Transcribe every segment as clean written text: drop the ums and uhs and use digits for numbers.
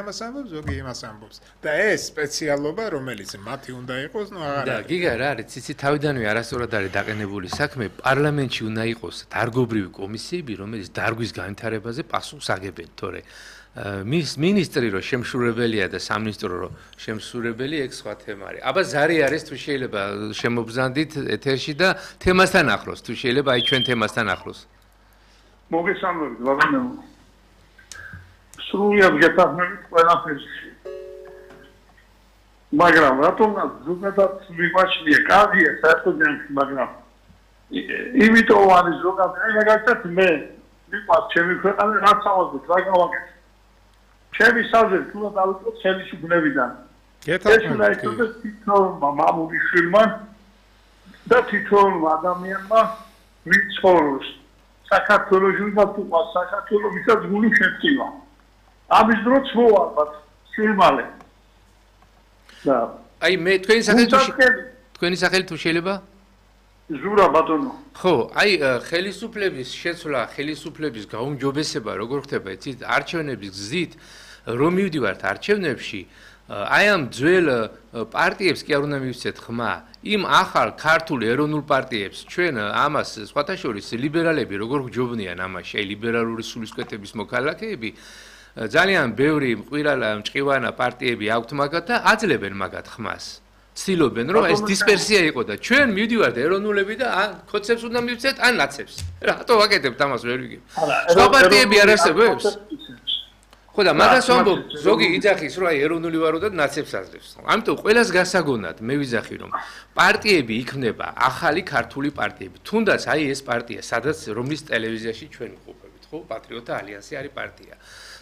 ამას ამბობს, ზოგი იმას ამბობს. და ეს სპეციალობა, რომელიც მათი უნდა იყოს, ნუ აღარ და გიგა რა არის, ციცი თავიდანვე არასწორად არის დაყენებული საქმე, პარლამენტში უნდა იყოს დარგობრივი კომისიები, რომელიც დარგვის განვითარებაზე პასუხს აგებენ, თორე მინისტრი რო შემსრულებელია და სამინისტრო რო შემსრულებელი, ეგ სხვა თემა არის. აბა ზარი არის თუ შეიძლება შემობზანდით ეთერში და თემასთან ახლოს, თუ შეიძლება აი ჩვენ თემასთან ახლოს. მოგესალმებით, ბატონო. სრულიად გეთანხმებით ყველაფერს. მაგრამ რატომაც ზოგადად მივაჩნია, კარგია საერთოდ ჯანმრთელობა, მაგრამ იმიტომ არის ზოგადად, აი მაგალითად მე მიყვარს ჩემი ქვეყანა, რაც ავაზრდეთ, რა გავაკეთე. ჩემი საზრით თუ დავიწყოთ ხელისუფლებიდან. ეს უნდა იყოს თითოეულმა მამულიშვილმა და თითოეულმა ადამიანმა ვინც ცხოვრობს საქართველოში და თუ საქართველოს ვისაც გული შეწივა. ამის დროც მოვარბათ სილმალე. და აი მე თქვენი სახელი თუ შეიძლება? ზურა ბატონო. ხო, აი ხელისუფლების შეცვლა, ხელისუფლების გაუმჯობესება როგორ ხდება, იცით, არჩევნების გზით რომ მივდივართ არჩევნებში, აი ამ ძველ პარტიებს კი არ უნდა მივცეთ ხმა, იმ ახალ ქართულ ეროვნულ პარტიებს, ჩვენ ამას სხვათა შორის ლიბერალები როგორ გჯობნიან ამაში, აი ლიბერალური სულისკვეთების მოქალაქეები, ძალიან ბევრი მყირალა მჭყივანა პარტიები აქვთ მაგათ და აძლევენ მაგათ ხმას. ცდილობენ რომ ეს დისპერსია იყო და ჩვენ მივდივართ ეროვნულები და ან კოცებს უნდა მივცეთ ან ნაცებს. რატო ვაკეთებთ ამას ვერ ვიგებ. სხვა პარტიები არ არსებობს? ხო და მაგას ვამბობ, ზოგი იძახის რომ აი ეროვნული ვარო და ნაცებს აძლევს. ამიტომ ყველას გასაგონად მე ვიძახი რომ პარტიები იქმნება ახალი ქართული პარტიები. თუნდაც აი ეს პარტია, სადაც რომლის ტელევიზიაში ჩვენ ვყოფებით, ხო? პატრიოტთა ალიანსი არის პარტია.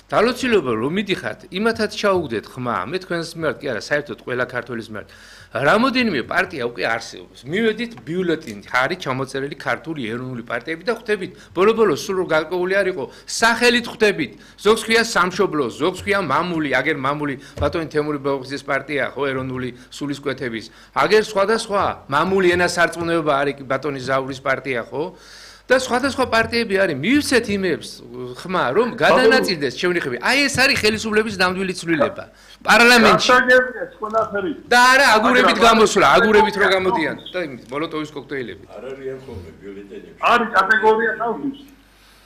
დალოცილობა რომ მიდიხართ, იმათაც ჩაუგდეთ ხმა, მე თქვენს მიმართ კი არა, საერთოდ ყველა ქართველის მიმართ. რამოდენიმე პარტია უკვე არსებობს. მივედით ბიულეტინი, არის ჩამოწერილი ქართული ეროვნული პარტიები და ხვდებით, ბოლო-ბოლოს სულ რომ გარკვეული არ იყო, სახელით ხვდებით. ზოგს ქვია სამშობლო, ზოგს ქვია მამული, აგერ მამული ბატონი თემური ბაუხიძის პარტია, ხო, ეროვნული სულისკვეთების. აგერ სხვადასხვა მამული ენასარწმუნოება არის ბატონი ზაურის პარტია, ხო? და სხვადასხვა პარტიები არის, მივცეთ იმებს ხმა, რომ გადანაწილდეს ჩვენი ხმები. აი ეს არის ხელისუფლების ნამდვილი ცვლილება. პარლამენტში. და არა აგურებით გამოსვლა, აგურებით რო გამოდიან და მოლოტოვის კოქტეილები. არ არიან ხოლმე ბიულეტენები. არის კატეგორია თავის.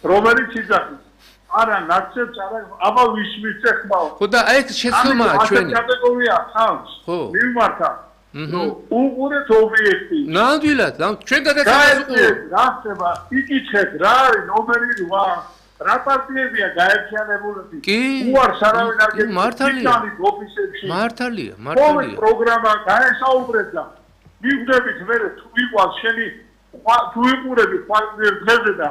რომელიც იძახის. არა ნაცებს, არა აბა ვის მიცე ხმაო. ხო და აი ეს შეცდომაა ჩვენი. კატეგორია ხავს. ხო. მივმართა. უყურეთ ობიექტი. ნამდვილად, ჩვენ გადაცემას უყურებთ. რა ხდება? იკითხეთ, რა არის ნომერი 8? რა პარტიებია გაერთიანებული? კი. უარს არავინ არ გეტყვით. მართალია. ოფისებში. მართალია. პროგრამა გაესაუბრეთ და მივხვდებით მე თუ ვიყავს შენი თუ ვიყურები ხვალზე და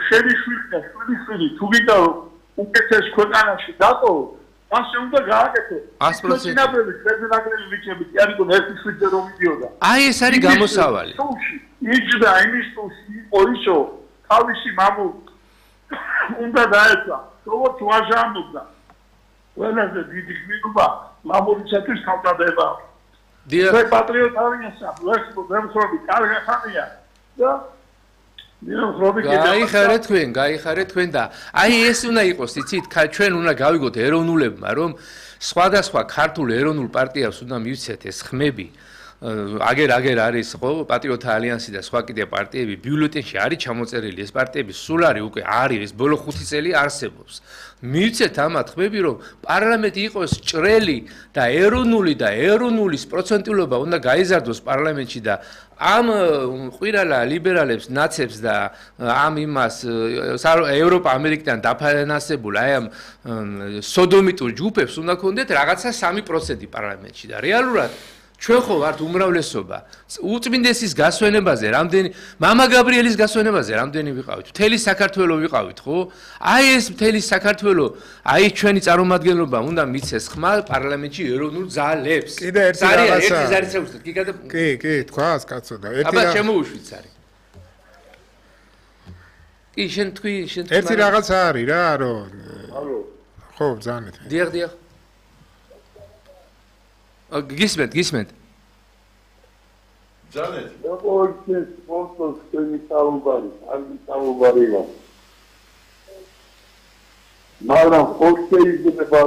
შენი შვილი და შვილი თუ ვიდა უკეთეს ქვეყანაში დატო ასე უნდა გააკეთო. 100%. ნაბები ფედერალური ვიჩები კი არისო ერთი შვიდზე რომ მიდიოდა. აი ეს არის გამოსავალი. იჯდა იმის თუში იყო ისო თავისი მამულ უნდა დაეცა. როგორც ვაჟამობდა. ყველაზე დიდი გმირობა მამულისათვის თავდადება. მე პატრიოტ არიასა, ვერცხლობი კარგი ხანია და გაიხარეთ თქვენ და აი ეს უნდა იყოს, იცით, ჩვენ უნდა გავიგოთ ეროვნულებმა, რომ სხვადასხვა ქართულ ეროვნულ პარტიას უნდა მივცეთ ეს ხმები. აგერ არის ხო პატრიოტთა ალიანსი და სხვა კიდე პარტიები ბიულეტენში არის ჩამოწერილი ეს პარტიები სულ არის უკვე არის ეს ბოლო 5 წელი არსებობს. მივცეთ ამათ ხმები რომ პარლამენტი იყოს ჭრელი და ეროვნულის პროცენტულობა უნდა გაიზარდოს პარლამენტში და ამ ყვირალა ლიბერალებს, ნაცებს და ამ იმას ევროპა ამერიკიდან დაფინანსებულ აი ამ სოდომიტურ ჯგუფებს უნდა ქონდეთ რაღაცა 3% პარლამენტში და რეალურად ჩვენ ხო ვართ უმრავლესობა. უწმინდესის გასვენებაზე რამდენი მამა გაბრიელის გასვენებაზე რამდენი ვიყავით? მთელი საქართველო ვიყავით, ხო? აი ეს მთელი საქართველო, აი ჩვენი წარმომადგენლობა უნდა მიცეს ხმა პარლამენტში ეროვნულ ძალებს. კიდე ერთი რაღაცა. კი, თქვას კაცო და ერთი აბა შემოუშვით ზარი. კი, შენ თქვი. ერთი რაღაცა არის რა, რომ ალო. ხო, ბრძანეთ. დიახ. გისმენთ. ჯანეთ. როგორც სპონსორს თქვენი საუბარი, კარგი საუბარია. მაგრამ ხო შეიძლება